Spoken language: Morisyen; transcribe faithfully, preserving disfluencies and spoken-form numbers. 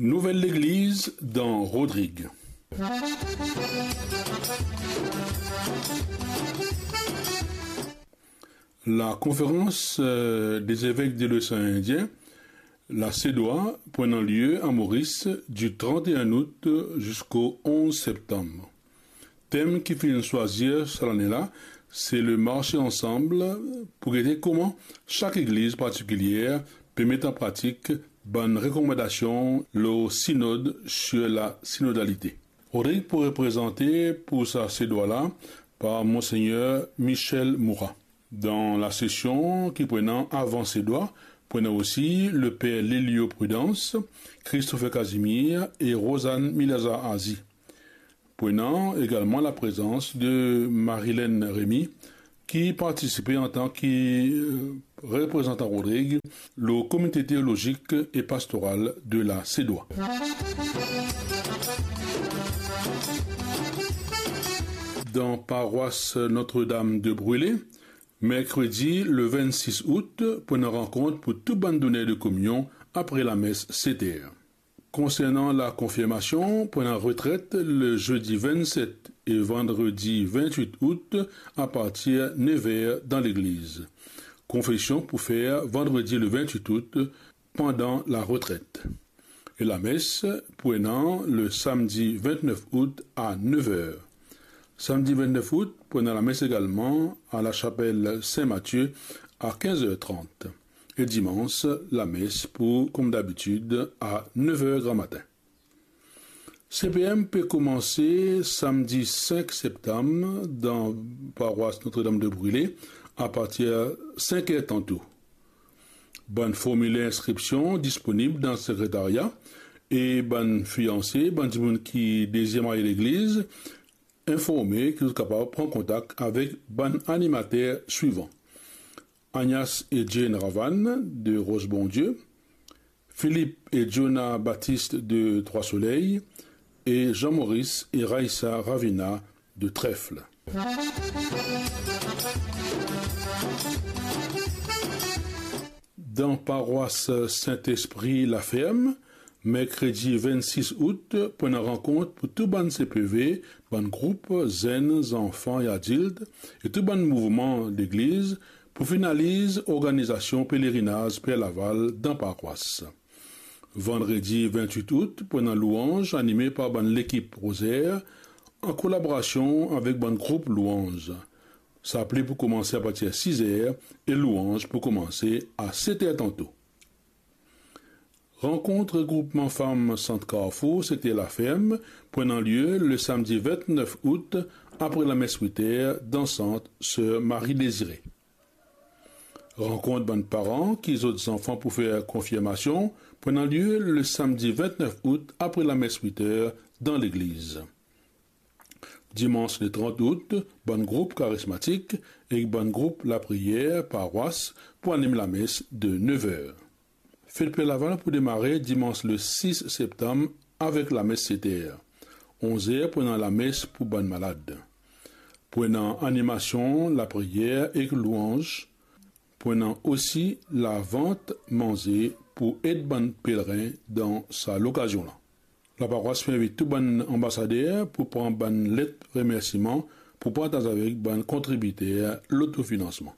Nouvel legliz dan Rodrig. La Conférence, euh, des évêques de l'océan Indien, la CEDOA, pou ena lie a Moris du trente et un août jusqu'au onze septembre. Tem ki finn swazir sa lane la, se le marche ansanm pou gete kouma sak legliz partikilier pe met an pratik bann rekomandasion lor Synode sur la synodalité. Rodrig pou reprezante pou sa CEDOA la par Monseigneur Michel Moura. Dan la sesion ki pou ena avan CEDOA, pou ena osi le per Lelio Prudence, Christopher Casimir e Rosanne Milazar Azi. Pou ena egalman laprezans de Marilène Rémy, ki partisipe antan ki, euh, reprezantan Rodrig lor Komite Teolozik e Pastoral de la CEDOA. Dan parwas Notre-Dame de Brûlé, merkredi le vennsis out, pou ena rankont pou tou bann doner de kominion apre lames set er. Konsernan la konfirmasion, pou ena retret le zedi vennset e vandredi vennwit out apartir nev er dan legliz. Konfesion pou fer vandredi le vennwit out pandan la retret. E lames pou ena le samdi vennef out a nev er. Samdi vennef out pou ena lames egalman a lasapel Sin Matie a kinz er trant. E dimans, lames pou, kouma dabitid, a nev er gramatin. CPM pe koumanse samdi sink septam dan parwas Notre-Dame de Brûlé apartir sink er tanto. Bann formiler inskripsion disponib dan sekretaria e bann fianse, bann dimoun ki dezir marye legliz, informe ki zot kapav pran kontak avek bann animater swivan: Agnas e Jane Ravan de Ros Bondie, Philippe e Jonah Baptiste de Trois Soleils e Jean-Maurice e Raissa Ravina de Trèfle. Dan parwas Sint-Espri Laferm, merkredi vennsis out pou ena rankont pou tou bann CPV, bann group, zenn, zanfan e adilt, e tou bann mouvman legliz pou finaliz organizasion pelerinaz Per Laval dan parwas. Vandredi vennwit out pou ena louanz anime par bann lekip Rozer, an kolaborasion avek bann group louanz. Sapli pou koumanse apartir siz er e louanz pou koumanse a set er tanto. Rankont regroupman fam Sant Karfour, sekter Laferm, pou ena lie le samdi vennef out, apre lames wit er, dan sant Ser Marie Désirée. Rankont bann paran ki zot zanfan pou fer konfirmasion pou ena lie le samdi vennef out, apre lames wit er, dan legliz. Dimans le trant out, bann group karismatik ek bann group lapriyer parwas pou anim lames de nev er. Fet Per Laval pou demare dimans le sis septam avek lames set er. Onz er pou ena lames pou bann malad. Pou ena animasion, lapriyer ek louanz. Pou ena osi lavant manze pou ed bann pelerin dan sa lokazion la. Laparwas pe invit tou bann anbasader pou pran bann let remersiman pou partaz avek bann kontribiter lotofinansman.